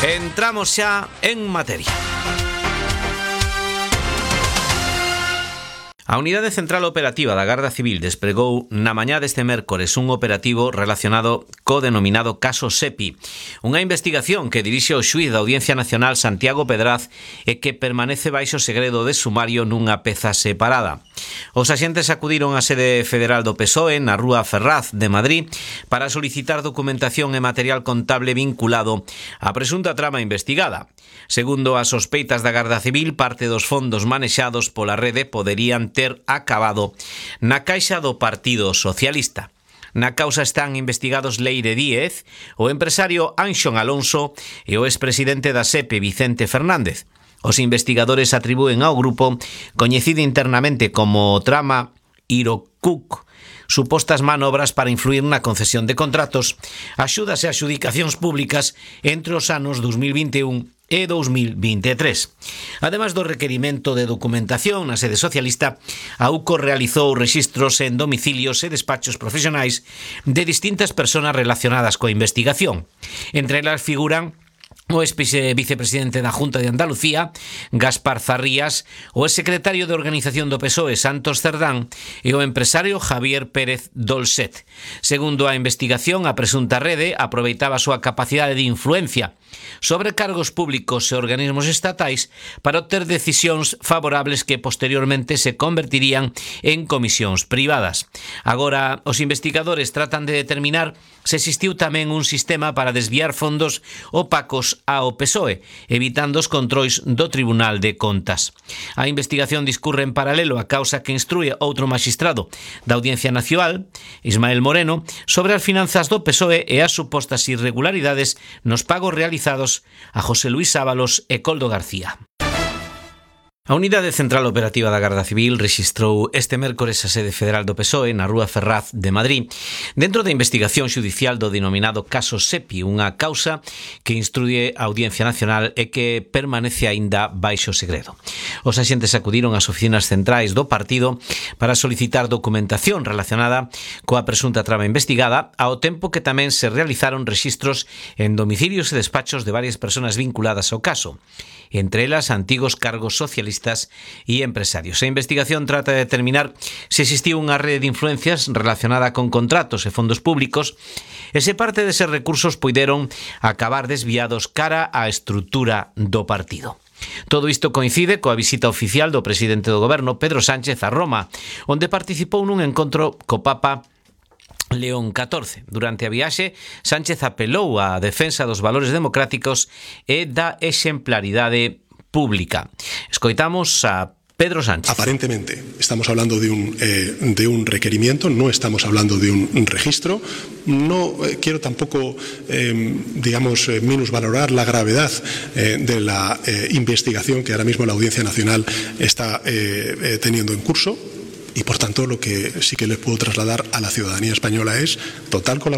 Entramos xa en materia. A Unidade Central Operativa da Garda Civil desplegou na mañá deste mércores un operativo relacionado co denominado caso Sepi, unha investigación que dirixe o xuíz da Audiencia Nacional Santiago Pedraz e que permanece baixo segredo de sumario nunha peza separada. Os axentes acudiron á sede federal do PSOE na Rúa Ferraz de Madrid para solicitar documentación e material contable vinculado á presunta trama investigada. Segundo as sospeitas da Garda Civil, parte dos fondos manexados pola rede poderían ter acabado na caixa do Partido Socialista. Na causa están investigados Leire Díez, o empresario Anxón Alonso e o expresidente da SEPE Vicente Fernández. Os investigadores atribúen ao grupo, coñecido internamente como Trama Irocuc, supostas manobras para influir na concesión de contratos, axudas e adxudicacións públicas entre os anos 2021 e 2023. Ademais do requerimento de documentación na sede socialista, a UCO realizou rexistros en domicilios e despachos profesionais de distintas persoas relacionadas coa investigación. Entre elas figuran o ex-vicepresidente da Junta de Andalucía, Gaspar Zarrías, o ex-secretario de Organización do PSOE, Santos Cerdán, e o empresario Javier Pérez Dolcet. Segundo a investigación, a presunta rede aproveitaba a súa capacidade de influencia sobre cargos públicos e organismos estatais para obter decisións favorables que posteriormente se convertirían en comisións privadas. Agora, os investigadores tratan de determinar se existiu tamén un sistema para desviar fondos opacos ao PSOE, evitando os controis do Tribunal de Contas. A investigación discurre en paralelo a causa que instrúe outro maxistrado da Audiencia Nacional, Ismael Moreno, sobre as finanzas do PSOE e as supostas irregularidades nos pagos realizados a José Luis Ábalos e Coldo García. A Unidade Central Operativa da Garda Civil rexistrou este mércores a sede federal do PSOE na Rúa Ferraz de Madrid dentro da investigación xudicial do denominado caso Sepi, unha causa que instruye a Audiencia Nacional e que permanece aínda baixo segredo. Os axentes acudiron ás oficinas centrais do partido para solicitar documentación relacionada coa presunta trama investigada, ao tempo que tamén se realizaron rexistros en domicilios e despachos de varias persoas vinculadas ao caso, entre elas antigos cargos socialistas e empresarios. A investigación trata de determinar se existiu unha rede de influencias relacionada con contratos e fondos públicos e se parte deses recursos puideron acabar desviados cara á estrutura do partido. Todo isto coincide coa visita oficial do presidente do goberno, Pedro Sánchez, a Roma, onde participou nun encontro co Papa León XIV. Durante a viaxe, Sánchez apelou á defensa dos valores democráticos e da exemplaridade pública. Escoitamos a Pedro Sánchez. Aparentemente estamos hablando de un requerimiento, no estamos hablando de un registro. No quiero tampoco, minusvalorar la gravedad de la investigación que ahora mismo la Audiencia Nacional está teniendo en curso. Y por tanto lo que sí que les puedo trasladar a la ciudadanía española es total colaboración